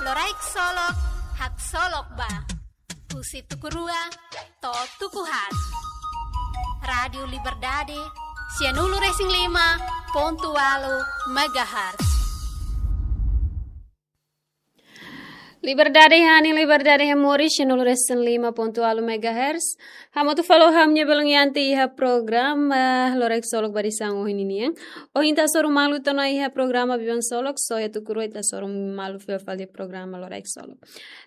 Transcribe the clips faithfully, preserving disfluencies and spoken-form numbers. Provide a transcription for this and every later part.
Loraik Solok, haksolok ba. Husi tuku rua to'o tuku haat. Rádiu Liberdade, sianulu-resin-lima pontu ualu megahertz. Liberdade hanin, Liberdade hamoris, sianulu-resin-lima pontu ualu megahertz. Hamutuk fali ho ha'u-nia belun Yanti iha programa Loraik Solok ba edisaun ohin ninian. Ohin ita hasoru malu tiha ona iha programa Biban Solok, só iha tuku rua ita hasoru malu fila fali programa Loraik Solok.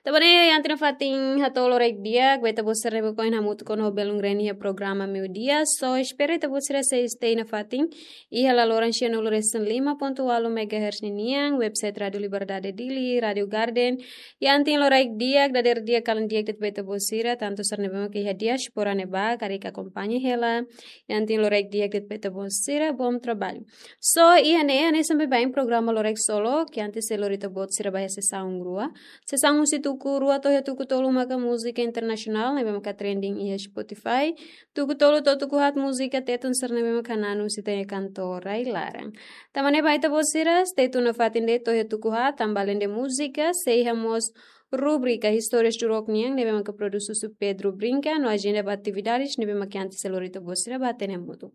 Tanba ne'e Yanti nafatin hato'o loraik di'ak ba ita-boot sira ne'ebé ohin hamutuk ona ho belun Reni iha programa meiudia. Só espera ita-boot sira sei stay nafatin iha laloran sianulu-resin-lima pontu ualu megahertz ninian, website Rádiu Liberdade Dili, Rádiu Garden. Yanti loraik di'ak, dadeer di'ak, kalan di'ak de'it ba ita-boot sira, tantu sira ne'ebé mak iha diáspora ne'ebá, karik akompaña hela. Yanti loraik di'ak de'it ba ita-boot sira, bom trabalho. Só iha ne'e, hanesan baibain programa Loraik Solok, Yanti sei lori ita-boot sira ba iha sesaun rua. Sesaun husi tuku rua to'o iha tuku tolu maka múzika internasionál, ne'ebé maka trending iha Spotify. Tuku tolu to'o tuku haat múzika Tetun sira ne'ebé maka hananu husi ita-nia kantór rai-laran. Tanba ne'e ba ita-boot sira, stay tune nafatin de'it to'o iha tuku haat, tanba alende múzika, sei iha mós rubrika Histórias do Rock nian, ne'ebé maka produs husi Pedro Brinca, no ajenda ba atividades, ne'ebé maka Yanti sei lori ita-boot sira ba hatene hamutuk.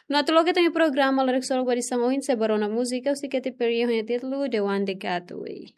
No atu loke ita-nia programa Loraik Solok ba edisaun ohin, sei ba rona múzika husi Katy Perry ho nia títulu The One That Got Away.